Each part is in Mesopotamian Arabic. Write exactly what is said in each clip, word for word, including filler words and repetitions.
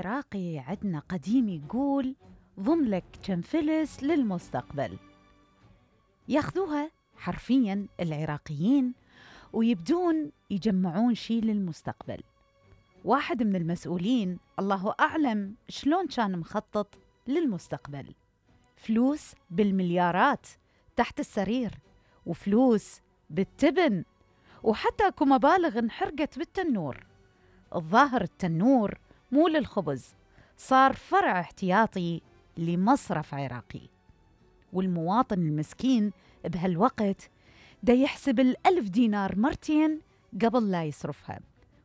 العراقي عندنا قديم يقول ضم لك كم فلس للمستقبل. ياخذوها حرفياً العراقيين ويبدون يجمعون شيء للمستقبل. واحد من المسؤولين الله أعلم شلون كان مخطط للمستقبل، فلوس بالمليارات تحت السرير، وفلوس بالتبن، وحتى اكو مبالغ انحرقت بالتنور. الظاهر التنور مو للخبز، صار فرع احتياطي لمصرف عراقي، والمواطن المسكين بهالوقت دا يحسب الألف دينار مرتين قبل لا يصرفها،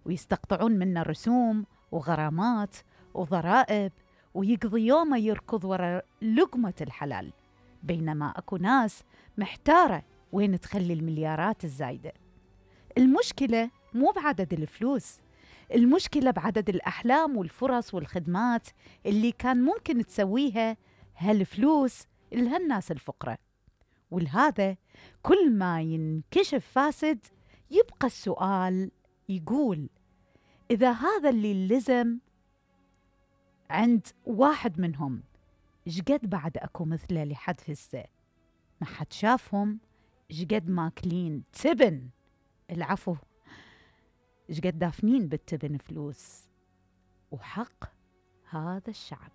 ويستقطعون منه رسوم وغرامات وضرائب، ويقضي يومه يركض وراء لقمة الحلال، بينما أكو ناس محتارة وين تخلي المليارات الزايدة. المشكلة مو بعدد الفلوس، المشكلة بعدد الأحلام والفرص والخدمات اللي كان ممكن تسويها هالفلوس لهالناس الفقراء. ولهذا كل ما ينكشف فاسد يبقى السؤال يقول: إذا هذا اللي لزم عند واحد منهم، شقد بعد أكو مثله لحد هسه ما حد شافهم؟ شقد ماكلين تبن، العفو، شقد دافنين بالتبن فلوس، وحق هذا الشعب.